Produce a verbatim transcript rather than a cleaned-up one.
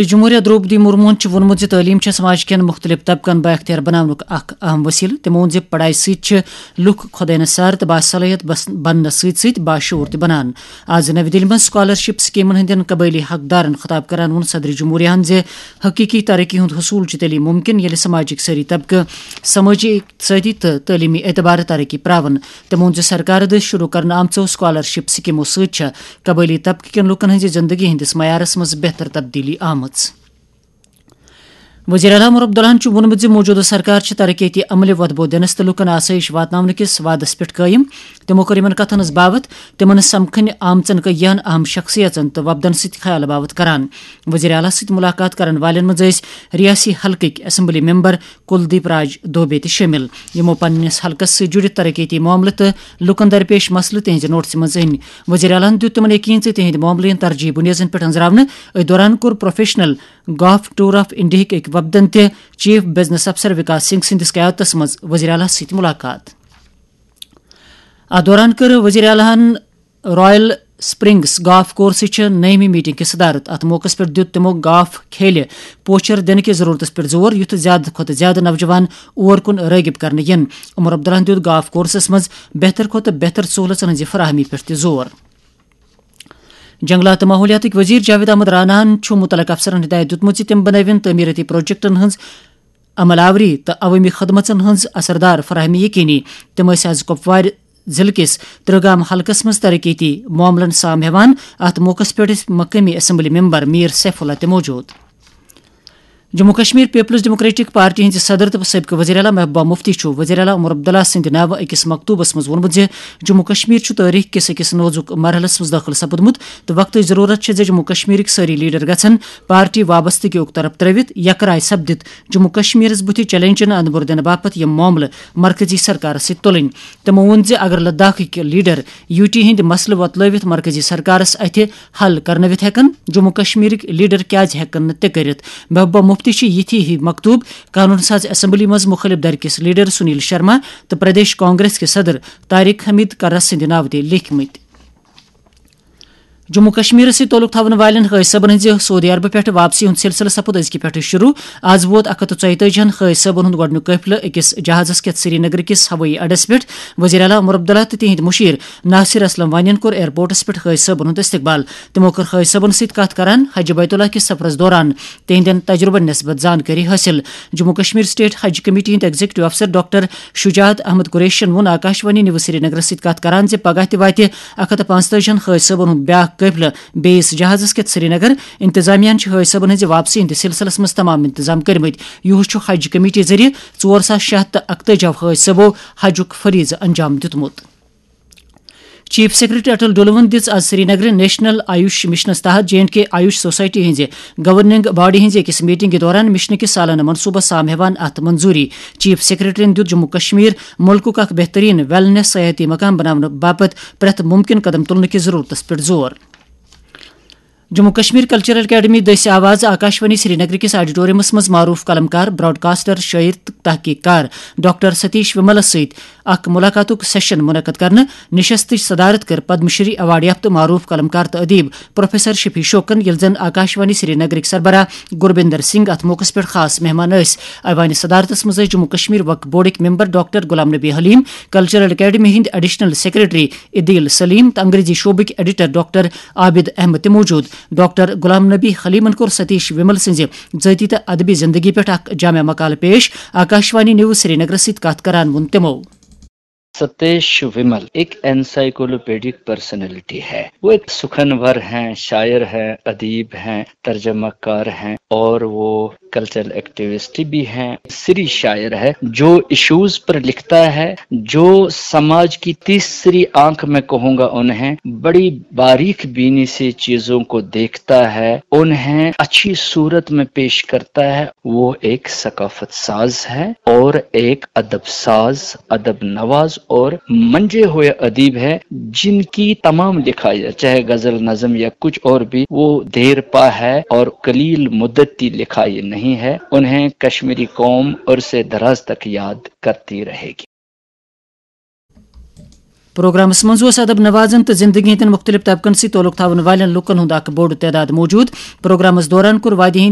جمہوریہ درٛوپدی مرموہن چھُ ووٚنمُت زِ تعلیٖم چھےٚ سماج کٮ۪ن مُختٔلِف طبقن بااختیار بناونُک اکھ اہم وسیلہٕ۔ تٔمۍ ووٚن زِ پڑھایہِ سۭتۍ چھِ لُکھ خۄداینصار تہٕ باصلٲحیت بس-، بننس سۭتۍ سۭتۍ باشعوٗر تہِ بنان۔ آز نَوِ دِلہِ منٛز سکالرشپ سکیمن ہٕنٛدٮ۪ن قبٲیلی حقدارن خطاب کران ووٚن صدر جمہوریہن زِ حقیقی ترقی ہُنٛد حصول چھُ تیٚلی ممکن، ییٚلہِ سماجٕکۍ سٲری طبقہٕ سمٲجی، اقتصٲدی تہٕ تعلیمی اعتبارٕ ترقی پراون۔ تٔمۍ ووٚن زِ سرکارٕ دٔسۍ شروع کرنہٕ آمژو سکالرشپ سکیمو سۭتۍ چھےٚ قبٲیلی طبقہٕ کٮ۪ن لوٗکن ہٕنٛزِ زندگی ہٕنٛدِس معیارس منٛز بہتر تبدیلی آمٕژ۔ وزیر اعلیٰ عمر عبداللہَن چھُ ووٚنمُت زِ موجودٕ سرکار چھِ ترقیتی عملہِ وۄدبو دِنَس تہٕ لوٗکَن آسٲیِش واتناونہٕ کِس وعدَس پٮ۪ٹھ قٲیِم۔ تِمَو کٔر یِمَن کَتھَن ہٕنٛز باوَتھ تِمَن سمکھٕنۍ آمژَن کینٛہَن اہم شخصیژَن تہٕ وۄپدَن سۭتۍ خیال باوَتھ کران۔ وزیر اعلیٰ سۭتۍ مُلاقات کرَن والٮ۪ن منٛز ٲسۍ رِیٲسی حلقٕکۍ اسمبلی ممبر کلدیپ راج دوبے تہِ شٲمِل، یِمَو پننِس حلقَس سۭتۍ جُڑِتھ ترقیتی معاملہٕ تہٕ لوٗکَن درپیش مسلہٕ تِہنٛزِ نوٹسہِ منٛز أنۍ۔ وزیر اعلیٰ ہَن دیُت تِمَن یقین زِ تِہنٛدۍ معاملہٕ یِن ترجیح بُنیادَن پٮ۪ٹھ أنٛزراونہٕ۔ أتھۍ دوران کوٚر پروفیشنل گالف ٹور آف انڈیاہٕکۍ أکۍ وفدن تہِ چیف بزنس افسر وکاس سنگھ سٕنٛدِس قیادتس منٛز وزیر اعلیٰ سۭتۍ ملاقات۔ اتھ دوران کٔر وزیر اعلیٰ ہن رائل سپرنگس گالف کورسٕچ نٔیمہِ میٹنگ کہِ صدارت۔ اتھ موقعس پٮ۪ٹھ دیُت تِمو گالف کھیلہِ پوچھر دِنہٕ کِس ضرورتس پٮ۪ٹھ زور، یُتھ زیادٕ کھۄتہٕ زیادٕ نوجوان اور کُن رٲغب کرنہٕ یِن۔ عمر عبداللہَن دیُت گالف کورسس منٛز بہتر کھۄتہٕ بہتر سہولژن ہٕنٛزِ فراہمی پٮ۪ٹھ تہِ زور۔ جنگلات تہٕ ماحولیاتٕکۍ وزیر جاوید احمد راناہن چھُ مُتعلقہٕ افسرن ہدایت دیُتمُت زِ تِم بنٲوِن تعمیٖرٲتی پروجیکٹن ہٕنٛز عمل آوری تہٕ عوٲمی خدمژن ہٕنٛز اثردار فراہمی یقینی۔ تِم ٲسۍ از کۄپوارِ ضلعہٕ کِس ترٛہ گام حلقس منٛز ترقیتی معاملن سام ہٮ۪وان۔ اتھ موقعس پٮ۪ٹھ ٲسۍ مقٲمی assembly member Mir safe Ullah تہِ موجود۔ Jammu Kashmir people's democratic party ہٕنٛزِ صدر تہٕ سٲبقہٕ وزیر اعلیٰ محبوبہ مفتی چھُ وزیر اعلیٰ عمر عبداللہ سٕنٛدِ ناوٕ أکِس مکتوبس منٛز ووٚنمُت زِ جموں کشمیر چھُ تٲریخ کِس أکِس نوزُک مرحلس منٛز دٲخل سپُدمُت تہٕ وقتٕچ ضروٗرت چھےٚ زِ جموں کشمیرٕکۍ سٲری لیڈر گژھن پارٹی وابستگی یُک طرف ترٲوِتھ یکرائے سپدِتھ جموں کشمیرس بُتھِ چیلنجن اندٕ برٕ دِنہٕ باپتھ یِم معاملہٕ مرکزی سرکارس سۭتۍ تُلٕنۍ۔ تِمو ووٚن زِ اگر لداخٕکۍ لیڈر یوٗ ٹی ہٕنٛدۍ مسلہٕ وۄتلٲوِتھ مرکزی سرکارس اَتھِ حل کرنٲوِتھ ہٮ۪کن، جموں کشمیرٕکۍ لیڈر کیازِ ہٮ۪کن نہٕ تہِ کٔرِتھ؟ محبوبہ مفتی چھِ یِتھی ہِوۍ مکتوب قانون ساز اسمبلی منٛز مُخٲلف دھرِ کِس لیڈر سنیل شرما تہٕ پردیش کانگریس کہِ صدر طارق حمید کرس سٕنٛدِ ناوٕ تہِ لیکھمٕتۍ۔ جموں کشمیرس سۭتۍ تعلق تھاون والٮ۪ن حٲج صٲبن ہٕنٛزِ سعودی عربہٕ پٮ۪ٹھ واپسی ہُنٛد سلسلہٕ سپُد أزکہِ پٮ۪ٹھٕ شروع۔ از ووت اکھ ہتھ تہٕ ژۄیتٲجی ہن حٲج صٲبن ہُنٛد گۄڈٕنیُک قٲفلہٕ أکِس جہازس کٮ۪تھ سری نگرٕ کِس ہوٲیی اڈس پٮ۪ٹھ۔ وزیر اعلیٰ عمر عبداللہ تہٕ تِہنٛدۍ مُشیر ناصر اسلم وانین کوٚر ایئرپورٹس پٮ۪ٹھ حٲج صٲبن ہُنٛد استقبال۔ تِمو کٔر حٲج صٲبن سۭتۍ کتھ کران حج بیت اللہ کِس سفرس دوران تِہنٛدٮ۪ن تجربن نسبت زانکٲری حٲصِل۔ جموں کشمیر اسٹیٹ حج کمیٹی ہٕنٛدۍ ایگزیکٹو افسر ڈاکٹر شجاعت احمد قریشین ووٚن آکاشوانی نیوز سری نگرس سۭتۍ کتھ کران زِ پگاہ تہِ واتہِ اکھ ہتھ تہٕ پانٛژتٲجی ہن حٲج صٲبن ہُنٛد بیاکھ قٲفلہٕ بیٚیِس جہازس کٮ۪تھ سری نگر۔ انتظامیہ ہن چھِ حٲج صٲبن ہٕنٛزِ واپسی ہٕنٛدِس سلسلس منٛز تمام انتظام کٔرمٕتۍ۔ یُہُس چھُ حج کمیٹی ذٔریعہٕ ژور ساس شےٚ ہتھ تہٕ اکتٲجی حٲج صٲبو حجُک فریضہٕ انجام دیُتمُت۔ چیف سیکرٹری اٹل ڈولوَن دِژ آز سری نگرٕ نیشنل آیوش مشنَس تحت J and K AYUSH society ہٕنٛزِ گورننگ باڈی ہٕنٛزِ أکِس میٹنگہِ دوران مشنہٕ کِس سالانہٕ منصوبس سام ہٮ۪وان اَتھ منظوٗری۔ چیف سیکرٹریَن دیُت جموں کشمیر مُلکُک اکھ بہتریٖن ویلنس سیاحتی مقام بناونہٕ باپتھ پرٛٮ۪تھ مُمکِن قدم تُلنہٕ کِس ضروٗرتس پٮ۪ٹھ زور۔ جموں کشمیر کلچرل اکیڈمی دٔسۍ آو آز آکاشوانی سری نگر کِس آڈیٹورمس منٛز معروف قلمکار، براڈکاسٹر، شٲعر تہٕ تحقیق کار ڈاکٹر ستیش وملس سۭتۍ اکھ ملاقاتُک سیشن منعقد کرنہٕ۔ نشستٕچ صدارت کٔر پدم شری ایوارڈ یافتہٕ معروف قلمکار تہٕ ادیب پروفیسر شفیع شوکن، ییٚلہِ زن آکاشوانی سری نگرٕکۍ سربراہ گربندر سنگھ اتھ موقعس پٮ۪ٹھ خاص مہمان ٲسۍ۔ ایوانِ صدارتس منٛز ٲسۍ جموں کشمیر وقف بورڈٕکۍ ممبر ڈاکٹر غلام نبی حلیم، کلچرل اکیڈمی ہٕنٛدۍ ایڈیشنل سیکرٹری عدیل سلیم تہٕ انگریزی شعبٕکۍ ایڈیٹر ڈاکٹر عابد احمد تہِ موجود۔ ڈاکٹر غلام نبی حلیمن کوٚر ستیش ومل سٕنٛزِ ذٲتی تہٕ ادبی زندگی پٮ۪ٹھ اکھ جامع مقالہٕ پیش۔ آکاشوانی نیوز سری نگرس سۭتۍ کتھ کران ووٚن تِمو۔ ستیش ومل ایک انسائیکلوپیڈک پرسنالٹی ہے۔ وہ ایک سخنور ہیں، شاعر ہیں، ادیب ہیں، ترجمہ کار ہیں اور وہ کلچرل ایکٹیوسٹ بھی ہیں، سری شاعر ہے۔ جو ایشوز پر لکھتا ہے، جو سماج کی تیسری آنکھ میں کہوں گا انہیں، بڑی باریک بینی سے چیزوں کو دیکھتا ہے، انہیں اچھی صورت میں پیش کرتا ہے، وہ ایک ثقافت ساز ہے اور ایک ادب ساز، ادب نواز اور منجے ہوئے ادیب ہے، جن کی تمام لکھائی، چاہے غزل، نظم یا کچھ اور بھی، وہ دیر پا ہے اور قلیل مدتی لکھائی نہیں ہے۔ انہیں کشمیری قوم عرصے دراز تک یاد کرتی رہے گی۔ پروگرامس منٛز اوس ادب نوازن تہٕ زندگی ہٕنٛدٮ۪ن مُختٔلِف طبقن سۭتۍ تعلق تھاون والٮ۪ن لوٗکن ہُنٛد اکھ بوٚڑ تعداد موجود۔ پروگرامس دوران کوٚر وادی ہٕنٛدۍ